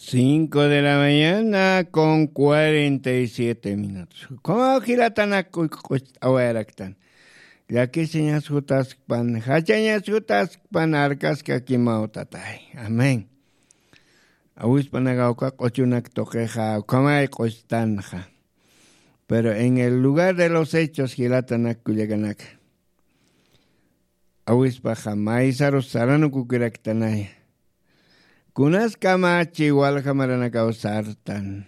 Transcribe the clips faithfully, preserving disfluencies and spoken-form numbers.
Cinco de la mañana con cuarenta y siete minutos. Como jilatanak q'ucht'awayaraktan, llakisiñas jutaskpan, jachañas jutaskpan arkaskakimaw tatay. Amén. Awispanaka uka q'uchunak tuqixa ukamay q'uchtanxa. Pero en el lugar de los hechos jilatanak kullakanaka, awispaxa maysarus saranukukiraktanaya. Kunas kamachi walja maranakaw sartan.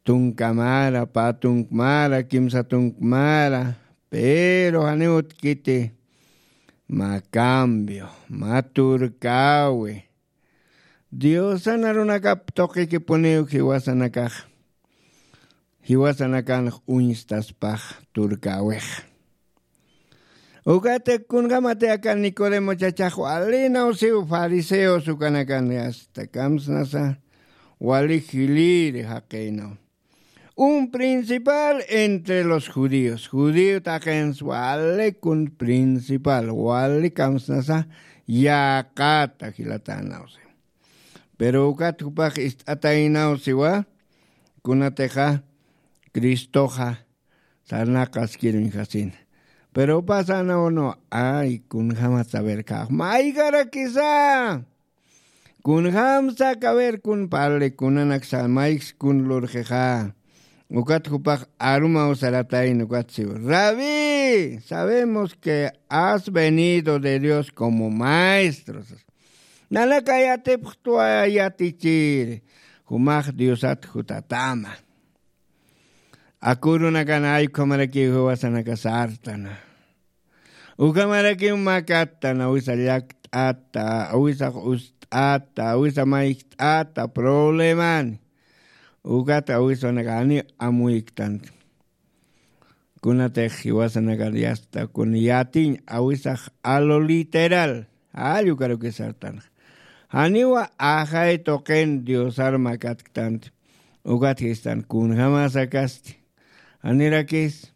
Tunka mara, pä tunk mara, kimsa tunk mara, pero janiw utjkiti mä cambio, mä turkäwi. Diosan arunakap tuqikipuniw jiwasanakax, jiwasanakanx uñstaspax turkäwix. Ukatix kunjämati aka Nicodemo chachax walinaw siw fariseos ukanakan asta kamsnasa wali jiliri jaqinaw. Un principal entre los judíos. Judío taqins wali kun principal, wali kamsnasa yäqata jilatänaw si. Pero ukat jupax ist'ataynaw siwa, kunatixa Cristoxa sarnaqaskiruñjasina. Pero pasanaw no, ay, kunjämat saber kax mayjarakisa. Kunjämsa kaber kun parli kunanaksa mayks kun lurxixa. Ukat jupax arumaw saratayna ukat siw. Rabí, sabemos que has venido de Dios como maestro. Nanaka yatipxtwa yatichir, jumax Diosat jutatama. Akurunakan ay ukhamarakiw jiwasanaka sartana. Ukhamarakiw makattan, awisa llakt'ata, awisa ust'ata, awisa mayjt'ata, problemani. Ukat awisanaka janiw amuyktan. Kunatix jiwasanaka yasta kun yatiñ awisax a lo literal. Jall ukarukis sartanxa. Janiwa ajay tuqin Diosar makatktanti. Ukat jistan kunjämas akasti. Janirakis.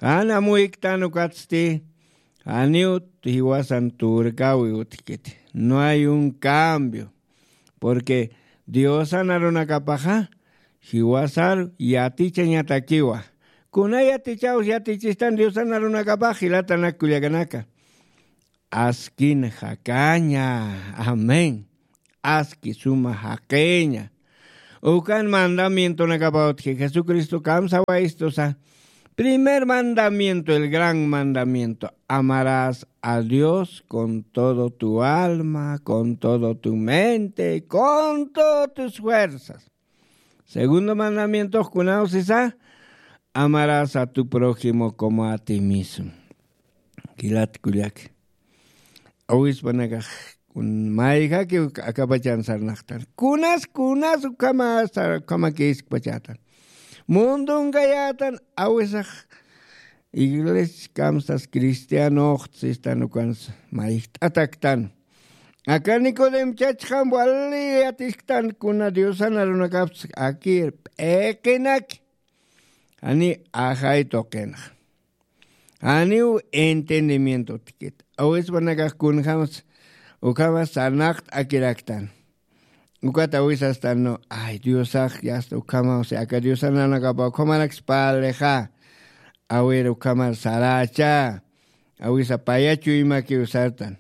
Jan amuyktan ukatsti, janiw jiwasan turkäwi utjkiti. No hay un cambio. Porque Diosan arunakapaxa jiwasar yatichañatakiwa. Kuna yatichaws yatichistan Diosan arunakapax jilatanak kullakanaka. Askin jakaña. Amén. Aski suma jaqiña. Ukan mandamientonakapaw utji Jesucristo kamsawaystusa. Primer mandamiento, el gran mandamiento. Amarás a Dios con todo tu alma, con todo tu mente, con todas tus fuerzas. Segundo mandamiento, kunawsisa, amarás a tu prójimo como a ti mismo. Kilat kullak. Awispanakax kun mayjaki akapachan sarnaqtan. Kunas, kunas ukhama sar-, ukhama kiskpachatan. Mundungayatan awisax iglesia kamsas cristianoxtsistan ukans mayjt'ataktan. Aka Nicodem chachxam wali yatisktan kuna Diosan arunakapsa akir p'iqinaki. Jani ajay tuqinxa. Janiw entendimiento utjkit. Awispanakax kunjämas ukhamas sarnaqt'akiraktan. Ukat awisastan no, ay, Diosax yasta ukhamaw si aka Diosan arunakapaw ukhamarakis parlixa. Awir ukhamar saracha. Awisa paya chuymakiw sartan.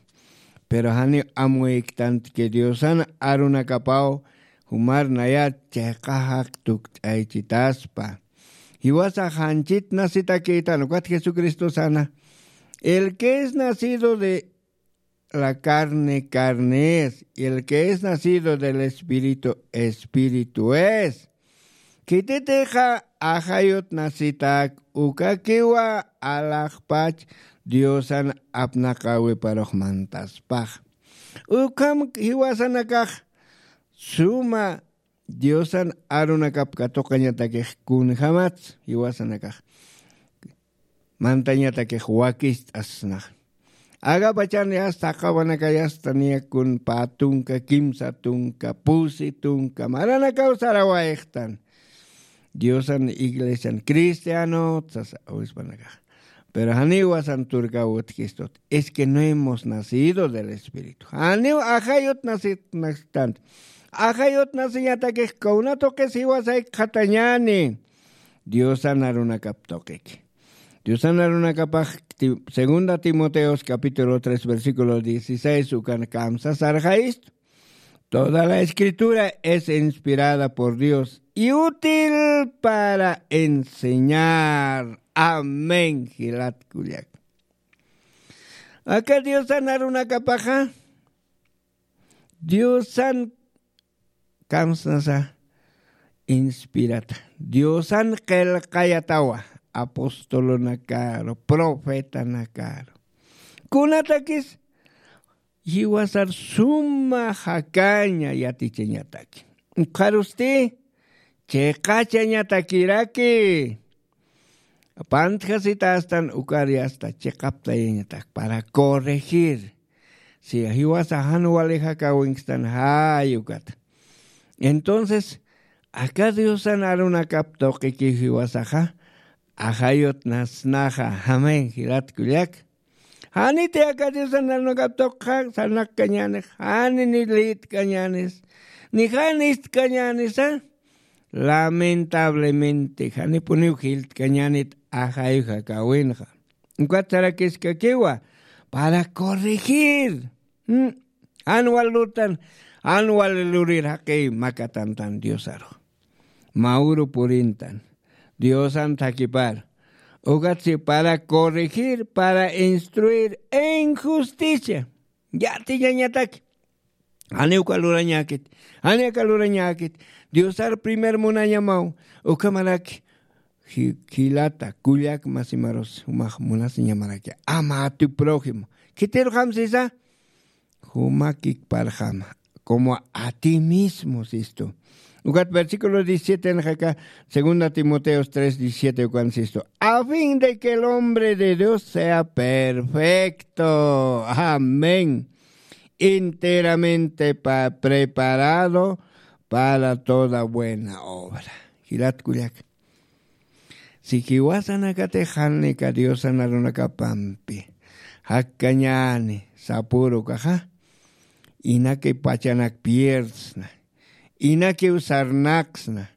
Pero janiw amuyktanti que Diosan arunakapaw jumar nayat chiqa jaq tukt'aychitaspa. Jiwasax janchit nacitakïtan ukat Jesucristo sana. El que es nacido de la carne, carne es, y el que es nacido del Espíritu, espíritu es. Khititixa ajayut nacitak ukakiwa alaxpach Diosan apnaqäwiparux mantaspax. Ukham jiwasanakax suma Diosan arunakap katuqañatakix kunjämats jiwasanakax mantañatakix wakicht'asnax. Akapachan yasta jaqawanaka yasta niya kun pä tunka, kimsa tunka, pusi tunka maranakaw sarawayxtan. Diosan iglesian cristianot sasa awispanakax. Pero janiw jiwasan turkäw utjkistut. Es que no hemos nacido del Espíritu. Janiw ajayut nacitanti. Ajayut nasiñatakix kawnatuqis jiwasaykxatañani. Diosan arunakap tuqiki. Diosan arunakapax Ti- segunda Timoteos capítulo tres versículo dieciséis ukan kamsasarxayistu. Toda la escritura es inspirada por Dios y útil para enseñar. Amén jilat kullak. Aka diosan arunakapaxa diosan kamsnasa inspirata diosan qillqayatawa apostolunakaru profetanakaru kunatakis jiwasar suma jakaña yatichañataki. Ukxarusti chiqachañatakiraki. Pantjasita astan ukari asta chiqaptayañatak para corregir. Si jiwasa jan wali jakawinkstan jay ukata. Entonces aka diosan arunakap tuqiki jiwasaxa ajayut nasnaxa. Amén jilat kullak. Janiti aka diosan arunakap tuqxa sarnaqkañänix jani ni lïtkañänis ni jan istkañänisa. Lamentablemente janipuniw jiltkañänit ajayuja kawinxa. Ukat sarakiskakiwa para corregir. Jan wal lurtan jan wal lurir jaqi makatantan diosaru. Mawru purintan diosan thakipar. Ukatsi para corregir para instruir en justicia. Yatiñañataki janiw kalurañäkit janiw kalurañäkit. Diosar primer munañamaw. Ukhamaraki jilata kullak masimarus jumax munasiñamaraki ama a tu prójimo. Khitirxam sisa jumakikparxama como a ti mismo sistu. Ukat versículo diecisiete nxaka segunda timoteos tres diecisiete ukan sistu a fin de que el hombre de dios sea perfecto. Amén. Enteramente preparado para toda buena obra. Jilat kullak. Si jiwasanakatix janika diosan arunakapampi jakkañani sapuru kaxa inaki pachanak pierdsna inakiw sarnaqsna.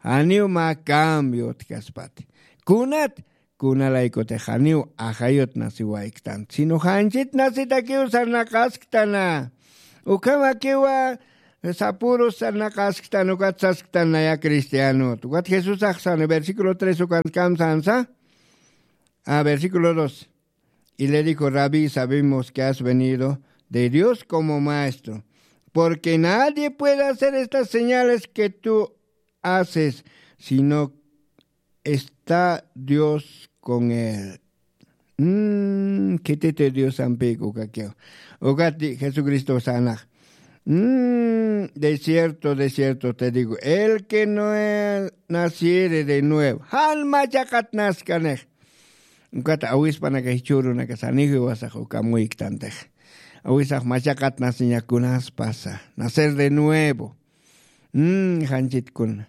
Janiw mä cambio utkaspati kunat kunalaykutix janiw ajayut nasiwayktan sino janchit nasitakiw sarnaqasktana. Ukhamakiwa sapurus sarnaqasktan ukat sasktan naya cristianot ukat jesusax sani versículo tres ukantkam sansa. A versículo dos. Y le dijo rabí sabemos que has venido de dios como maestro, porque nadie puede hacer estas señales que tú haces sino está dios con él. Khititi diosampïk ukakiw. Ukati jesucristo sanax. De cierto de cierto te digo el que no naciere de nuevo jan machaqat naskanix. Ukat awispanakax jichhürunakax saniw jiwasax uka amuyktantix. Awisax machaqat nasiñakunas pasa nacer de nuevo. Janchitkuna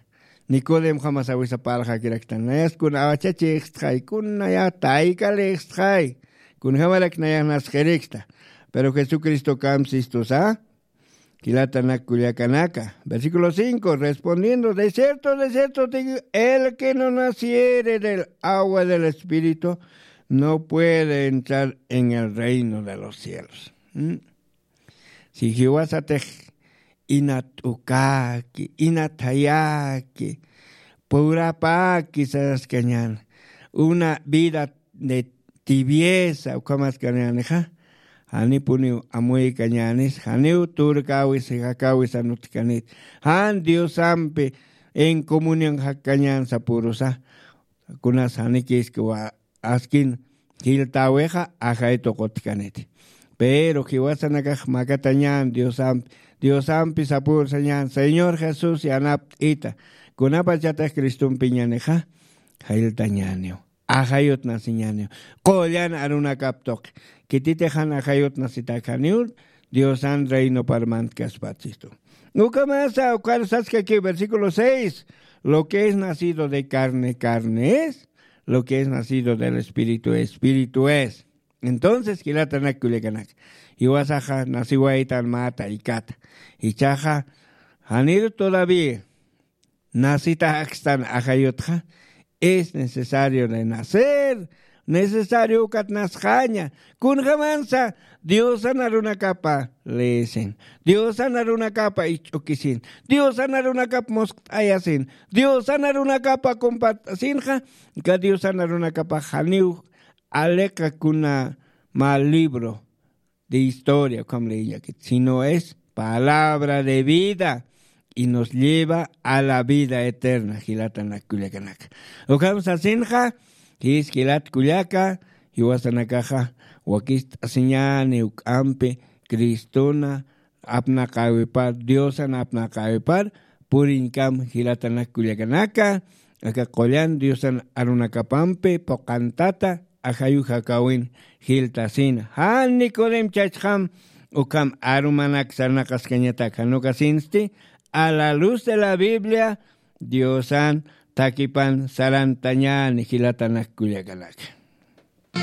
nicodemjamas awisa parlxakiraktan nayaskuna awachachixtxay kunaya taykalixtxay. Kunjamarak nayax nasxirikta. Pero jesucristo kamsistusa jilatanak kullakanaka. Versículo cinco respondiendo de cierto de cierto te digo el que no naciere del agua del espíritu no puede entrar en el reino de los cielos. Si jiwasatix inat'ukaki inathayaki purapaki saskañan una vida de tibieza ukhamaskañanixa. Janipuniw amuykañanis janiw turkawis jakawisan utkanit jan diosampi en comunión jakkañan sapurusa. Kunas janikiskiwa askin jiltäwixa ajay tuqutkaniti. Pero jiwasanakax makatañan diosampi diosampi sapursañan señor jesús yanapt'ita. Kunapachatix cristompiñanixa jiltañaniw ajayut nasiñaniw. Qullan arunakap tuqi khititix jan ajayut nasitäkaniw diosan reinoparmantkaspatsistu. Ukamasa ukhar saskaki versículo seis. Lo que es nacido de carne carne es, lo que es nacido del espíritu espíritu es. Entonces jilatanak kullakanaka jiwasaxa nasiwaytan mä taykata. Jichhaxa Janir todavía nasitaxakstan ajayutxa, es necesario renacer. Necesario ukat nasxaña. Kunxamansa diosan arunakapa leesin, diosan arunakapa ich'ukisin, diosan arunakapa muskt'ayasin, diosan arunakapa kumpat'asinxa. Ka diosan arunakapa janiw aliqa kuna mä libro de historia ukham leeyakit, sino es palabra de vida y nos lleva a la vida eterna. Jilatanak kullakanaka, ukham sasinxa, jis jilat kullaka, jiwasanakaxa wakist'asiñani uk'ampi cristona apnaqäwipar, diosan apnaqäwipar puriñkam. Jilatanak kullakanaka, aka qullan diosan arunakapampi puqantata ajayu jakawin jiltasina. Jan nicodem chachxam ukham arumanak sarnaqaskañatak, jan ukasinsti a la luz de la biblia diosan takipan sarantañani. Jilatanak kullakanaka,